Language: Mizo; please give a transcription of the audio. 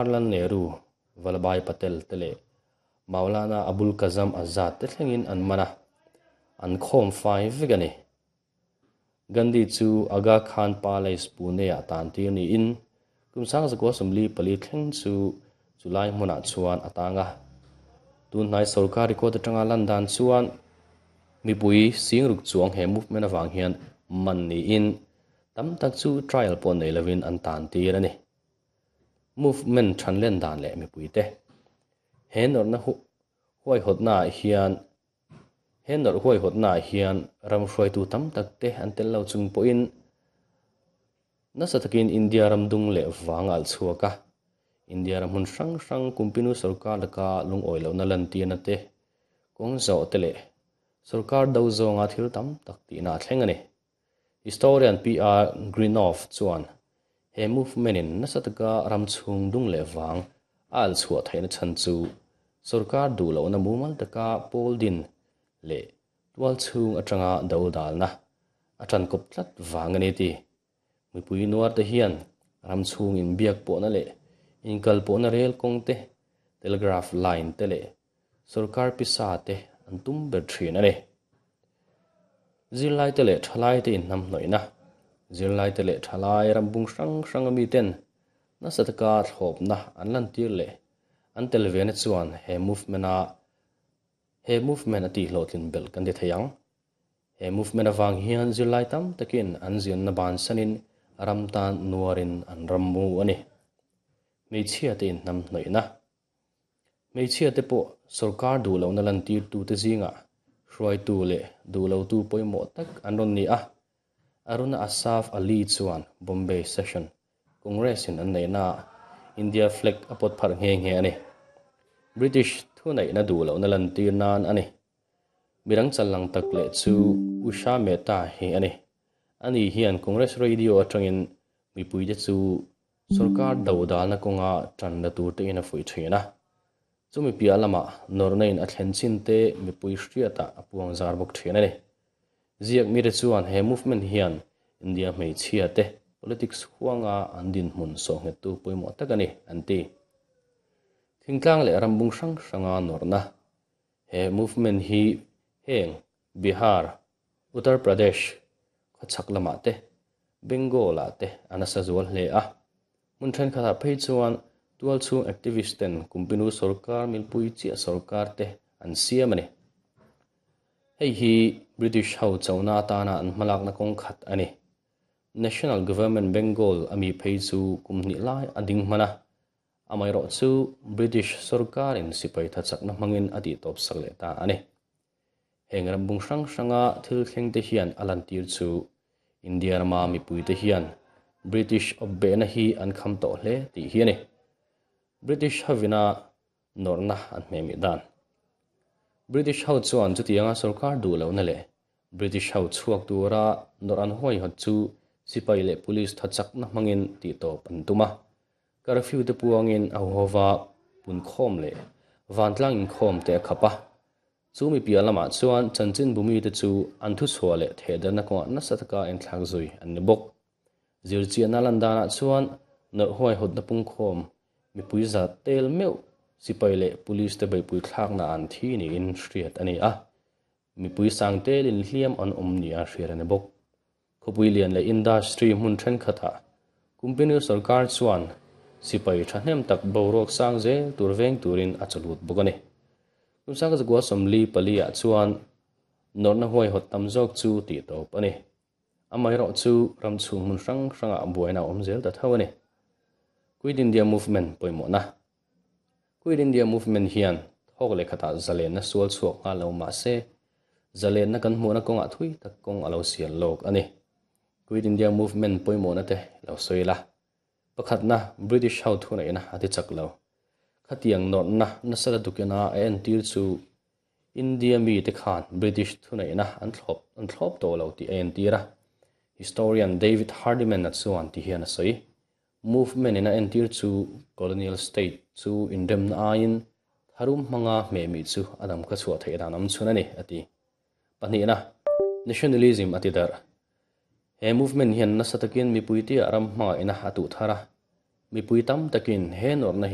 Jawaharlal Nehru, Vallabhbhai Patel te leh Maulana Abul Kazam Azad te thlengin an man a, an khawm fai vek a ni. Gandhi chu Aga Khan Palace, Pune-ah tantir niin kum 1944 thleng chu chulai hmunah chuan a tang a. Tunhnai sorkar record atanga lan dan chuan mipui singruk chuang he movement avang hian man niin tam tak chu trial pawh nei lovin an tantir a ni. Movement thanlen dan leh mipuite he nawrhna huaihawtnaah hian he nawrh huaihawtnaah hian ram hruaitu tam tak te an tel lo chung pawhin nasa takin India ram dung leh vang a alh chhuak a. India ram hmun hrang hrang Kumpinu sorkar laka lungawi lohna lantirna te, kawng zawh te leh sorkar do zawnga thil tam tak tihna a thleng a ni. Historian PR Greenough chuan he movement-in nasa taka ram chhung dung leh vang a alh chhuah theihna chhan chu sorkar duh lohna mumal taka pawl din leh tual chhung atanga do dalna a tan kawp tlat vang a ni ti. Mipui nuar te hian ram chhung inbiak pawhna leh inkal pawhna rel kawng te, telegraph line te leh Sorkar pisa te an tum ber thin a ni. Zirlaite leh thalaite inhnamhnawihna, Zirlaite leh thalai rambung hrang hranga miten nasa taka thlawpna an lantir leh an tel vena chuan he movement-a he movement a tihhlawhtlin belh kan ti thei ang. He movement avang hian zirlai tam takin an zirna bansanin ram tan nuarin an rammu a ni. Hmeichhiate inhnamhnawihna. Hmeichhia te pawh sorkar duh lohna lantirtute zingah hruaitu leh duh lotu pawimawh tak an rawn ni a. Aruna Asaf Ali chuan Bombay Session Congress-in an neihnaah India flag a pawt pharh nghe nghe a ni. British thuneihna duh lohna lantir nan a ni. Midang challang tak leh chu Usha Mehta hi a ni. Ani hian Congress Radio atangin mipuite chu Sorkar dodalna kawnga tan la tur tein a fuih thin a, chumi piah lamah nawrhna in a thlen chin te mipui hriatah a puang zar bawk thin a ni. Ziak mite chuan he movement hian India hmeichhia te politics huanga an dinhmun sawhnghettu pawimawh tak a ni, an ti. Thingtlang leh rambung hrang hranga nawrhna he movement hi heng Bihar, Uttar Pradesh khawchhak lamah te Bengal-ah te a nasa zual hle a. Hmun thenkhatah phei chuan tualchhung activist ten Kumpinu sorkar milpui chiah sorkar te an siam a ni. Hei hi British ho chona atana an hmalakna kawng khat a ni. National Government Bengal a mi phei chu kum hnih lai a ding hman a, amaherawhchu British sorkarin sipai thachakna hmangin a tihtawpsak leh ta a ni. Heng rambung hrang hranga thil thlengte hian a lantir chu India rama mipuite hian British awpbehna hi an kham tawh hle tih hi a ni. British hovina nawrhna an hmehmih dan. British ho chuan chutianga sorkar duh lohna leh British ho chhuak tura nawrh an huaihawt chu sipai leh police tha chakna hmangin tihtawp an tum a. Curfew te puangin a huhova punkhawm leh vantlang inkhawm te a khap a. Chu mi piah lamah chuan chanchinbu mite chu an thuchhuah leh thehderna kawngah nasa taka enthlak zui an ni bawk. Zirchiahna lan danah chuan nawrh huaihawtna pungkhawm mipui za tel meuh sipai leh police te beihpui thlakna an thi niin hriat a ni a, mipui sang telin hliam an awm nia hriat a ni bawk. Khawpui lian leh industry hmun thenkhatah Kumpinu sorkar chuan sipai thahnem tak boruak sang zel tur veng turin a chawlut bawk a ni. Kum sangkazakua 44 ah chuan nawrhna huaihawt tam zawk chu tih tawp a ni. Amaherawh chu ram chhung hmun hrang hrangah buaina a awm zel ta tho a ni. Quit India Movement pawimawhna Quit India Movement hian thawk leh khatah zalenna sual chhuak nghal lo mah se, zalenna kan hmuhna kawngah thui tak kawng a lo sial lawk a ni. Quit India Movement pawimawhna te lo sawi la. Pakhatna, British ho thuneihna a ti chak lo. Khatiang nawrhna nasa la dukina a entir chu India mite khan British thuneihna an thlawp an thlawp tawh lo tih a entir a. Historian David Hardiman-a chuan ti hian a sawi. Movement in a entir chu colonial state chu inremna aiin tharum hmanga hmehmih chu a dam kha chhuah theih dan awm chhun a ni, a ti. Pahnihna, Nationalism a ti darh. He movement hian nasa takin mipuitia ram hmangaihna a tuh thar a. Mipui tam takin he nawrhna hi.